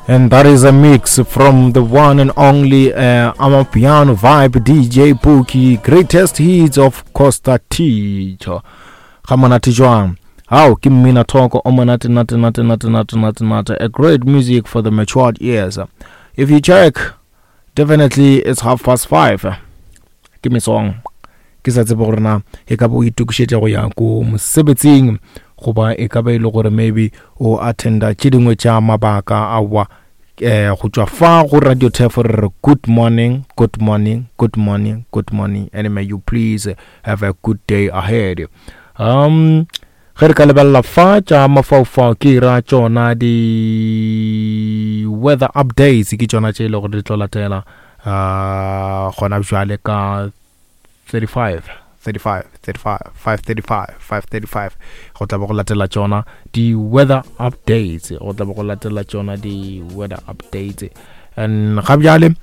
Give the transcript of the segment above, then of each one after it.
And that is a mix from the one and only uh, Amapiano Vibe DJ Pookie, greatest hits of Costa Teacher. Ga monate jwang? How ke mmina thoko o monate nate nate nate nate nate nate. A great music for the matured ears. If you check, definitely it's 5:30. Ke mesong. Ke sa tsebe gore na e ka ba o itokišetša go ya ko mosebetsing goba e ka ba e le gore maybe o attenda tše dingwe tša mabaka aowa um go tšwa fa go radio tef re re good morning good morning good morning good morning and may you please have a good day ahead um ge re ka lebelela fa tša mafaufau ke ra tšona di weather updates ke tšona tše e le gore di tlo latela uh gona bjale ka 35 35 35 535 535 go tla be go latela tšona di-weather updates go tla be go latela tšona di-weather updates and ga bjale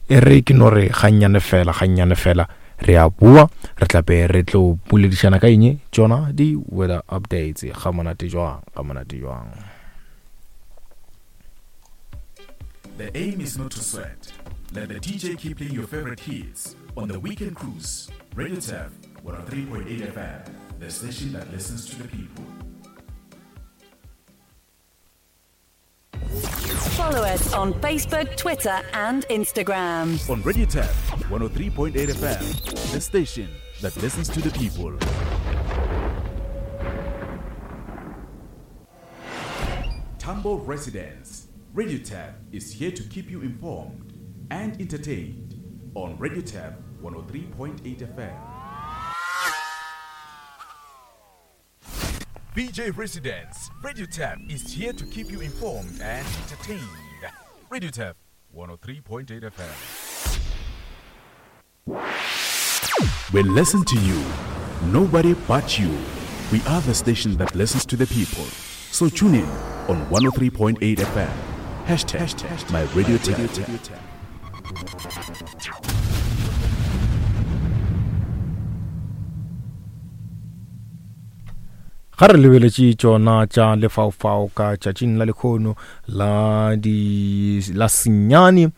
e re ke no re gannyane fela gannyane fela re a boa re tla be re tlo boledišana ka eng tšona di-weather updates ga monate jwang ga monate jwang The aim is not to sweat. Let the DJ keep playing your favorite hits on the Weekend Cruise. Radio Turf 103.8 FM, the station that listens to the people. Follow us on Facebook, Twitter, and Instagram. On Radio Turf 103.8 FM, the station that listens to the people. Tambo residents, Radio Tab is here to keep you informed and entertained on Radio Tab 103.8 FM. BJ Residents, Radio Tab is here to keep you informed and entertained. Radio Tab 103.8 FM. We listen to you, nobody but you. We are the station that listens to the people. So tune in on 103.8 FM. Hashtag, hashtag my radio tab. Ga re lebeletše tšona tša lefaufau ka tšatšing la lekgono la di la senyane um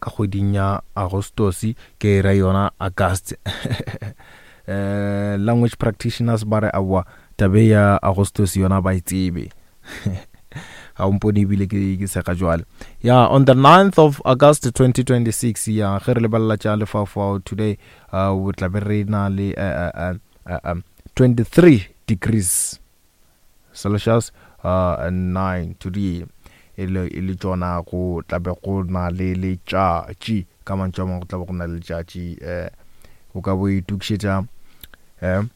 ka kgweding ya Agostosi ke ra yona August um language practitioners ba re aowa tabe ya Agostosi yona ba e tsebe ga o mpone ebile ke ke sega jwale ya on the 9th of August 2026 ya ge re lebelela tša lefaufau today uh, o tla be re na le uh, uh, uh, um, 23 degrees Celsius uh, and 9 today e le e le tšona go tla be go na le letšatši ka mantšu a mangwe go tla be go na le letšatši um o ka bo itokišetša um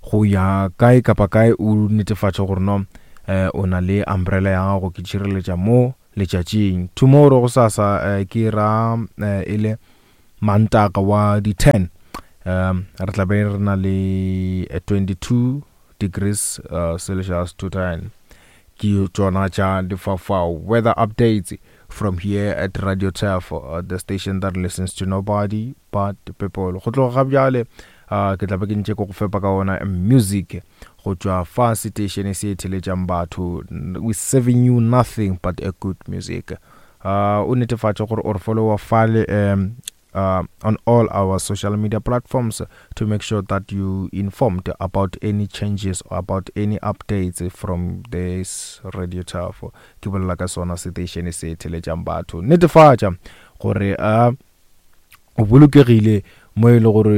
go ya kae kapa kae o netefatše gore no um o na le umbrella ya gago ke tšhireletša mo letšatšing tomorrow go sasa um ke ra um e le Mantaga wa di 10 um re tla be re na le 22 degrees uh, Celsius to 10 ke tšona tša difafao weather updates from here at Radio Turf uh, the station that listens to nobody but people go tloga ga bjale uh, ke tla be ke ntše ko go fepa ka ona music go tšwa fa station se theletšang batho we serving you nothing but a good music uh, o netefatše gore o re followa fale um, uh, on all our social media platforms to make sure that you informed about any changes or about any updates from this radio turf ke bolela ka sona station se theletšang batho netefatša gore uh, o bolokegile mo e le gore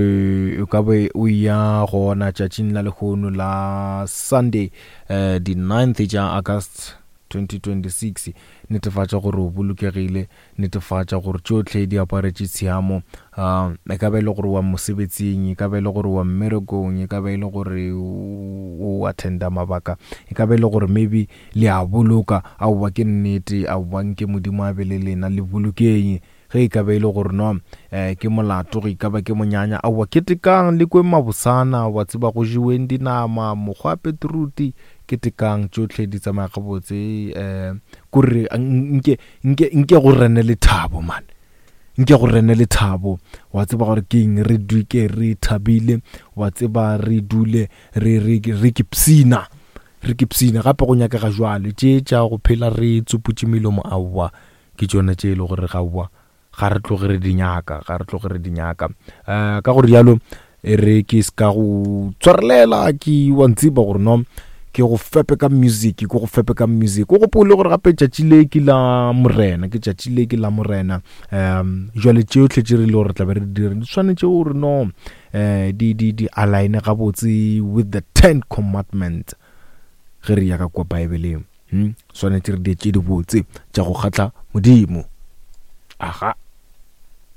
o ka be o ya gona tšatšing la lehono la Sunday eh, di 9th tša August 2026 netefatša gore o bolokegile netefatša gore tšohle di aparetše tshiamo um e ka ba e le gore wa mosebetsing e ka ba e le gore wa mmerekong e ka ba e le gore o attenda mabaka e ka ba e le gore maybe le a boloka aowa ke nnete aowa nke modimo a be le lena le bolokeng Ge e ka ba e le gore no eh, ke molato, ge e ka ba ke monyanya, aowa ketekang le kweng mabosana, wa tseba go jeweng dinama, mokgwa petruti, ketekang tšohle di tsamaya gabotse eh, kore nke, nke, nke go rene lethabo man nke go rene lethabo wa tseba gore ke eng re duke re thabile wa tseba re dule re re re ke psina. Re ke psine gape go nyakega jwale tše tša go phela re tsuputše melomo aowa ke tšona tše e le gore gaowa ga re tloge re di nyaka ga re tloge re di nyaka um ka gore jalo e re ke se ka go tshwarelela ke wa ntsiba gore no ke go fepe ka music ke go fepe ka music o gopole gore gape tšatši le ke la morena ke tšatši le ke la morena um jwale tšeotlhe tše re le gore tlabe re di dire di tshwanetse gore no um di di di align gabotse with the ten commandments ge re ya ka kwa baebeleng hmm? swanetše re di tše dibotse tša go kgatla modimo aga.